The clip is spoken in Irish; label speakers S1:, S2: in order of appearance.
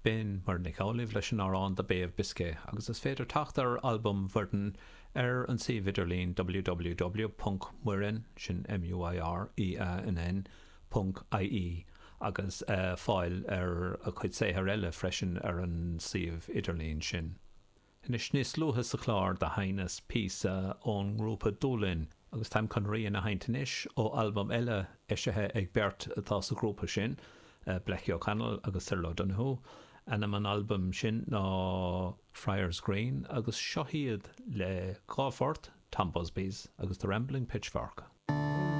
S1: B'in Muireann Nic Amhlaoibh leis an amhrán The Bay of Biscay agus is féidir teacht ar albam Mhuireann ar an suíomh idirlín www.muireann, sin M-U-I-R-E-A-N-N, ponc ie agus fáil ar a cuid saothair eile freisin ar an suíomh idirlín sin. Anois, níos luaithe sa chlár do sheinneas píosa ón ngrúpa Dúlainn agus táim chun rian a sheinnt anois ó albam eile eisithe ag beirt atá sa ghrúpa sin, Blackie O'Connell agus Cyril O'Donoghue. Ainm an albaim sin ná Friars Green agus seo iad le dhá phort, Tom Busby's agus The Rambling Pitchfork.